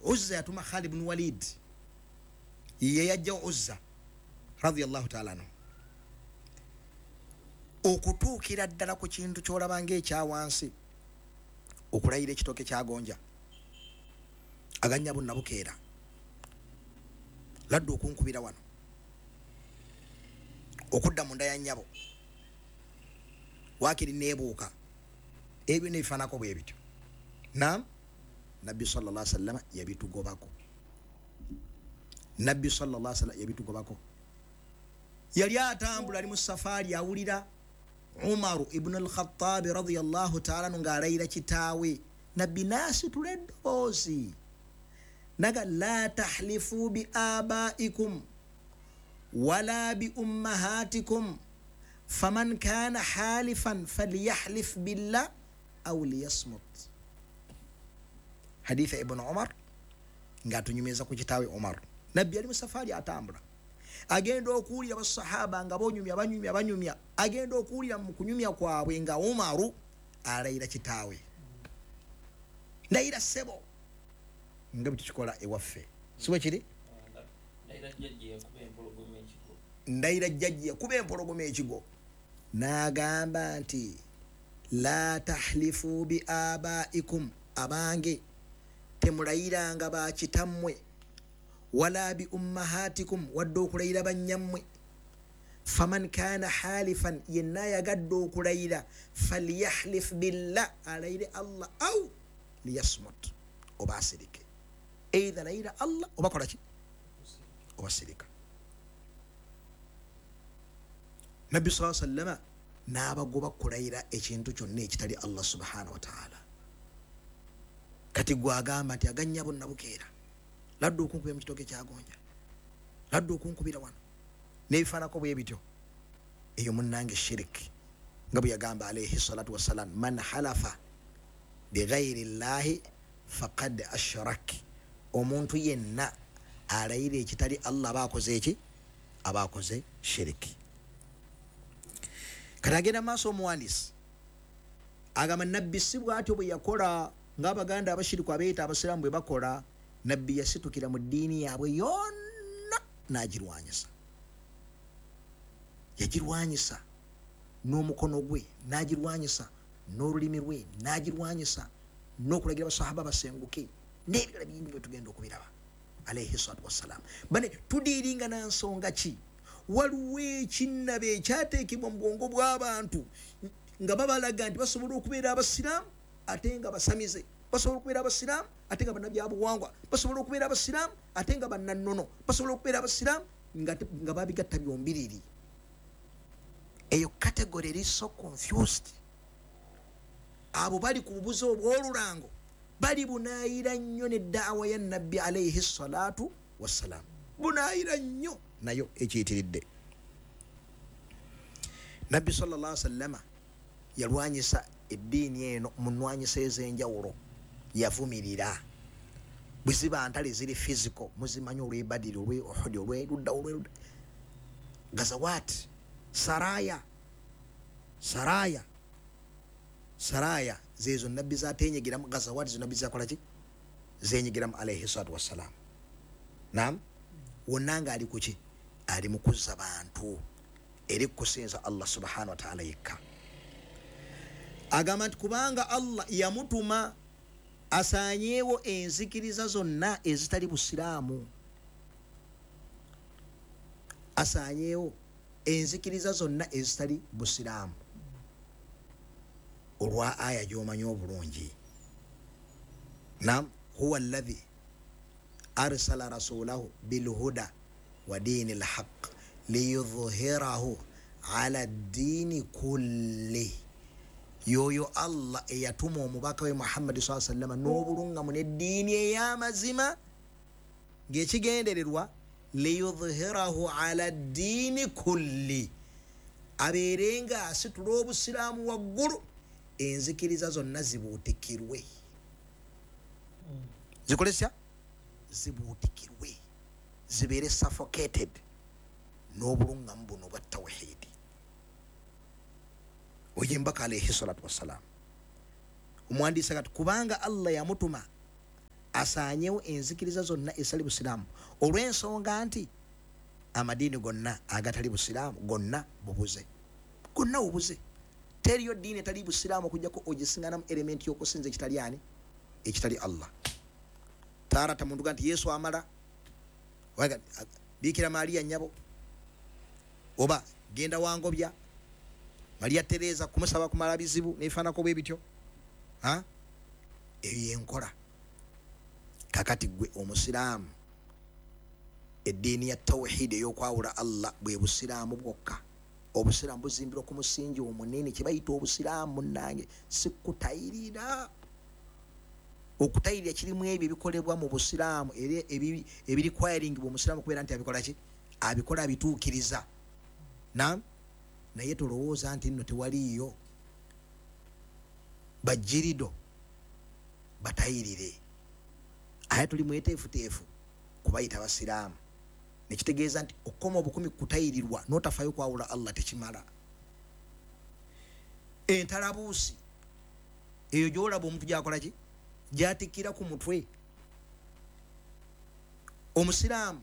Uzza yatuma Khalid ibn Walid, ye yajja Uzza radiyallahu ta'ala anhu. Okutuukira ddala ku kintu ky'olaba ng'ekyawansi, okulayira ekitooke kyagonja aganya bunnabukeera ladde okunkubira wano, okudda munda ya nnyabo waakiri neebuuka, ebyo nebifaanako bwe bityo. Naam, Nabbi sallallahu alaihi wasallam yabitugobako. Nabbi sallallahu alaihi wasallam yabitugobako. Yali atambula ali mu safaari, awulira Umaru ibn al-Khattab radiyallahu ta'ala ng'alayira kitaawe. Nabbi n'asitula eddoboozi naga, la tahlifu bi abaikum wala bi ummahatikum faman kana halifan falyahlif billah aw liyasmut. Haditha Ibn Umar ng'atunyumiza ku kitaawe Umar. Nabbi ali mu safaari atambula, agenda okuwulira basahaba nga bonyumya banyumya banyumya, agenda okuwulira mu kunyumya kwabwe nga Umaru alayira kitaawe, ndayira ssebo, nga bwe tukikola ewaffe, si bwe kiri? Ndayira jjajja yakuba empologoma ekigo. N'agamba nti la tahlifu bi abaikum, abange temulayiranga bakitammwe, wala bi ummahatikum, wadde okulayira bannyammwe. Faman kana halifan, yenna ayagadde okulayira, falyahlif billah, alayire Allah, au liyasmut, oba asirike. Either layira Allah oba kola ki, oba sirika. Nabbi sallallahu alaihi wasallam n'abagoba kulayira ekintu kyonna ekitali Allah subhanahu wa ta'ala. Kati gwagamba nti aganya bunnabukeera ladde okunkubira mu kitooke kyagonja, ladde okunkubira wano, n'ebifaanako bwe bityo. Eyo munnange shiriki, nga bwe yagamba alayhi salatu wassalam, man halafa bighairi llahi faqad ashrak. Omuntu yenna alayira ekitali Allah aba akoze eki? Aba akoze shiriki. Kati agenda maaso omuwandiisi agamba Nabbi si bw'atyo bwe yakola ng'Abaganda abashiriku abeeyita abasiraamu bwe bakola. Nabbi yasitukira mu ddiini yaabwe yonna n'agirwanyisa. Yagirwanyisa n'omukono gwe, n'agirwanyisa n'olulimi lwe, n'agirwanyisa n'okulagira basahaba basenguke n'ebirala bingi bwe tugenda okubiraba. Alayhi salatu wassalam. Bane tudiiringa na nsonga ki? Waliwo ekinnabe ekyateekebwa mu bwongo bw'abantu nga babalaga nti basobola okubeera abasiraamu ate nga basamize, basobola okubeera abasiraamu ate nga bannabyabuwangwa, basobola okubeera abasiraamu ate nga bannannono, basobola okubeera abasiraamu nga babigatta byombiriri. Eyo category eri so confused. Abo bali ku bubuze obw'olulango, bali bunaayira nnyo ne daawa ya Nabbi alayhi salatu wassalam, bunaayira nnyo nayo ekiyitiridde. Nabbi sallallahu alaihi wasallama yalwanyisa eddiini eno mu nnwanyisa ez'enjawulo, yavumirira. Bwe ziba ntale ziri physical, muzimanyi olw'e Badiri, olw'e Uhudi, olw'erudda, olw'erudda, Gazawat, saraya, saraya, saraya zeezo Nabbi zatenyigiramu. Gazawat zo Nabbi zakola ki? Zenyigiramu alayhi salatu wassalam. Naam, wonna nga ali kuki? Ali mu kuzza bantu eri kusinza Allah subhanahu wa ta'ala yekka. Agamba nti kubanga Allah yamutuma asaanyeewo enzikiriza zonna ezitali busiraamu, asaanyeewo enzikiriza zonna ezitali busiraamu, olwa aya gy'omanyi obulungi. Nam, huwa alladhi arsala rasulahu bilhuda wa diini lhaq liyudhhirahu ala ddiini kulli. Yoyo Allah eyatuma omubaka we Muhammadi saa sallama n'obulungamu n'eddiini ey'amazima, ng'ekigendererwa liyudhhirahu ala ddiini kulli, abeere nga asitula obusiraamu waggulu, enzikiriza zonna zibuutikirwe, zikolesya zibuutikirwe, zibeere suffocated n'obulungamu buno bwa tawhidi. Oyo embaka alayhi salatu wassalam. Omuwandiisi agati kubanga Allah yamutuma Asaanyewo enzikiriza zonna ezitali busiraamu, olw'ensonga nti amadiini gonna agatali busiraamu gonna bubuze, gonna bubuze. Teriyo ddiini etali busiraamu okujjako ogisinganamu elementi y'okusinza ekitali ani? Ekitali Allah. Taarata muntu ga nti Yesu amala, Biikira Maria nnyabo, oba genda wangobya Maria Teresa kumusaba kumala bizibu nebifaanako bwe bityo. Eyo yenkola. Kakati gwe omusiraamu, eddiini ya tawhidi ey'okwawula Allah bwe busiraamu bwokka. Obusiraamu buzimbirwa ku musingi omunene kye bayita obusiraamu. Munnange, si kutayirira. Okutayirira kirimu ebyo ebikolebwa mu busiraamu era ebirikwayiringibwa omusiraamu okubeera nti abikola ki? Abikola, abituukiriza. Nam, naye tolowooza nti nno tewaliiyo bajirido batayirire, aye tuli mweteefuteefu kubayita basiraamu. Nekitegeeza nti okukoma obukumi kutayirirwa n'otafayo kwawula Allah tekimala. Entalabuusi eyo gyolaba omuntu gyakola ki, gyatikkira ku mutwe, omusiraamu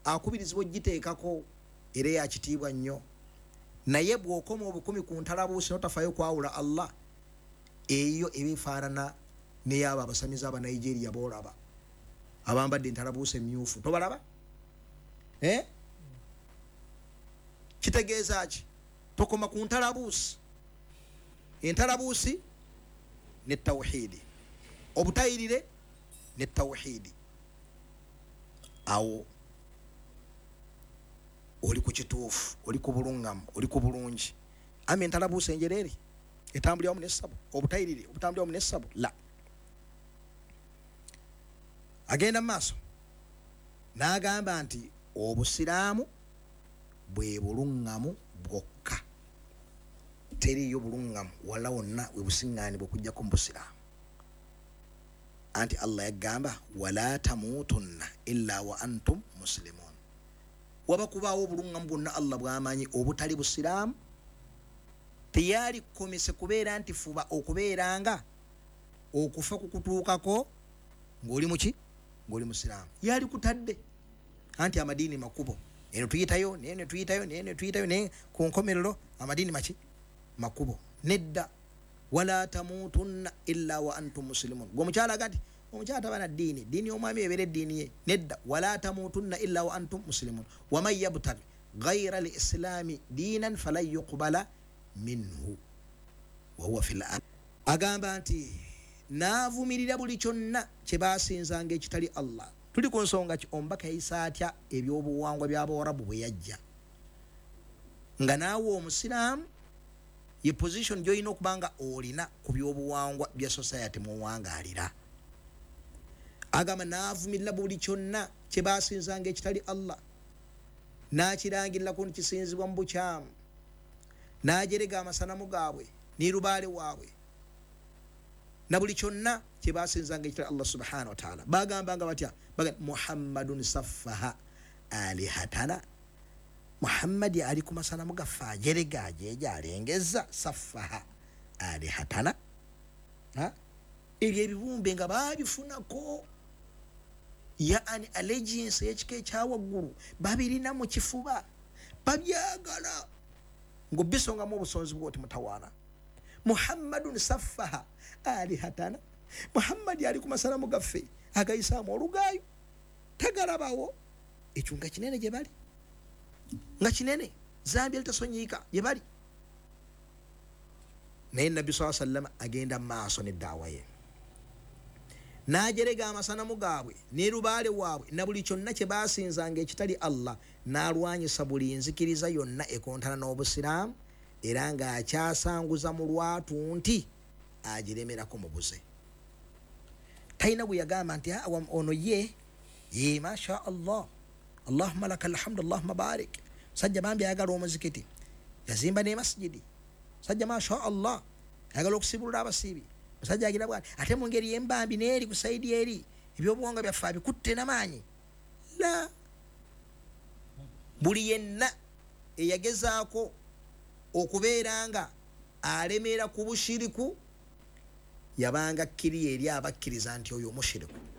akubirizibwa ogiteekako era yakitiibwa nnyo. Naye bw'okoma obukumi ku ntalabuusi n'otafayo kwawula Allah, eyo eba efaanana neyabo abasamize Abanigeria boolaba abambadde entalabuusi emyufu, tobalaba? Kitegeeza ki? Tokoma ku ntalabuusi. Entalabuusi ne tawhidi, obutayirire ne tawhidi, awo oli ku kituufu, oli ku bulungamu, oli ku bulungi. Ama entalabuusi enjereere etambulira wamu n'essabo, obutayirire obutambulira wamu n'essabo, la. Agenda mu maaso n'agamba nti obusiraamu bwe bulungamu bwokka, teriiyo bulungamu wala wonna we busiŋŋaanibwa okuggyako mu busiraamu. Anti Allah yagamba, wala tamuutunna illa wa antum muslimun. Waba kubaawo obulungamu bwonna Allah bw'amanyi obutali busiraamu, teyali kukomise kubeera nti fuba okubeera nga okufa kukutuukako ng'oli muki? Ng'oli musiraamu. Yali kutadde anti amadiini makubo, eno tuyitayo nene tuyitayo nene tuyitayo, naye ku nkomerero amadiini maki? Makubo. Nedda, wala tamuutunna illa wa antum muslimun. Gwe omukyala aga nti omukyala taba na ddiini, ddiini y'omwami ebeera eddiini ye. Nedda, wala tamuutunna illa wa antum muslimun. Waman yabtagi gaira lislaami diinan falan yuqbala minhu wahuwa fil. Agamba nti naavumirira buli kyonna kye baasinzanga ekitali Allah. Tuli ku nsonga ki? Omubaka yayisa atya ebyobuwangwa by'Abawarabu bwe yajja? Nga naawe omusiraamu ye position gy'olina okuba nga olina ku byobuwangwa bya society muwangaalira. Agamba naavumirira buli kyonna kye baasinzanga ekitali Allah, n'akirangirirako nti kisinzibwa mu bukyamu, n'ajerega amasanamu gaabwe ne lubaale waabwe na buli kyonna kye basinzanga ekitali Allah subhanahu wataala. Bagambanga batya? Muhammadun saffaha alihatana, Muhammadi ali ku masanamu gaffe, ajerega, ajeja, alengeza. Saffaha alihatana, ebyo ebibumbe nga babifunako yaani allegiance ey'ekika ekyawaggulu, babirina mu kifuba, babyagala ngaobisongamu obusonzi bwoti mutawaana. Muhammadun saffaha alihatana, Muhammadi ali ku masanamu gaffe agayisaamu olugaayo, tagalabawo. Ekyo nga kinene gye bali, nga kinene, zambia litasonyiika gye bali. Naye Nabbi saa sallama agenda mu maaso neddaawa ye, n'ajerega amasanamu gaabwe ne lubaale waabwe na buli kyonna kye baasinzanga ekitali Allah, n'alwanyisa buli nzikiriza yonna ekontana n'obusiraamu, era ng'akyasanguza mu lwatu nti agiremerako mubuze. Talina gwe yagamba nti ono ye ye, masha Allah, allahumma laka alhamdu, allahumma barik, musajja bambi ayagala omuzikiti, yazimba ne masjidi, musajja masha Allah ayagala okusibulula abasiibi, musajja agira bwati, ate mu ngeri yembambi neeri ku saidi eri ebyobuwangwa byaffe abikutte namaanyi. La, buli yenna eyagezaako okubeera nga alemeera ku bushiriku yabanga kkiriya eri abakkiriza nti oyo mushiriku.